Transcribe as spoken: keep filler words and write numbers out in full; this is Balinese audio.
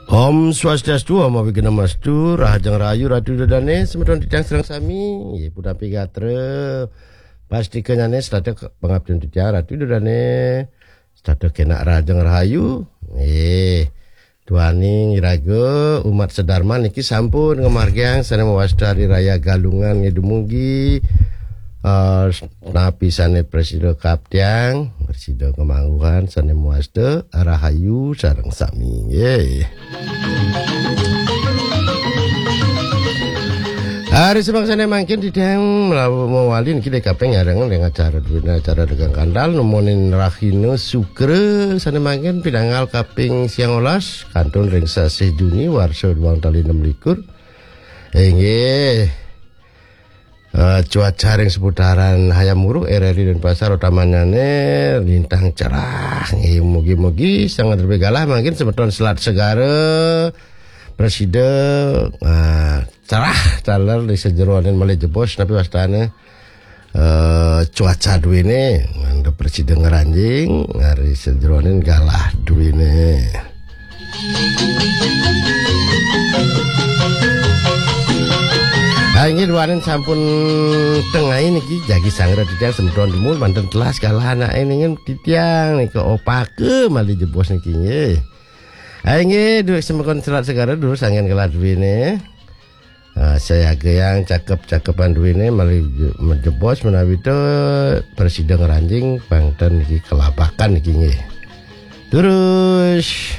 Om Swastiastu, Om Awighnamastu, Rahajeng Rahayu, Ratu Ida Dane, semeton titiang sareng sami, nggih, punapi gatra, pastika nyane, setata ke-, pangaptin titiang, Ratu Ida Dane, setata kenak Rahajeng Rahayu, nggih, duaning iraga umat sedarma niki sampun ngamargiang sane mawasta Hari Raya Galungan nggih dumugi, eh, napi sane prasida kaptiang, prasida kamangguhan sane mawasta Rahayu sareng sami, nggih. Hari semangsane mangkin titiang melawu mawali niki dek kaping nyareng dengan acara duwina acara dagang kandal nemonin rahina Sukra sane mangkin pinanggal kaping siang olas kantun ring sasih Juni warsa duang tali enam likur. Inggih. Eh, cuaca ring seputaran Hayam Wuruk, R R I Denpasar utamanyane lintang cerah. Nggih, mugi-mugi sanget lebih galah mangkin semeton Selat Segara prasida, ah, cerah taler di sajeroning malih jebos napi wastane, eh, cuaca duwene, mangda prasida ngranjing, ari sajeroning galah duwene. Ha, inggih duaning sampun tengai niki jagi sangra titiang semeton dumun manten telas galah anake ningen titiang nika opaka malih jebos niki nggih. Ha, inggih duwek semeton Selat Segara durus anggen galah duwene. Ah, sayagayang cakep-cakepan duwene malih je-, jebos menawi to prasida ngranjing pangten niki kelabakan niki nggih. Terus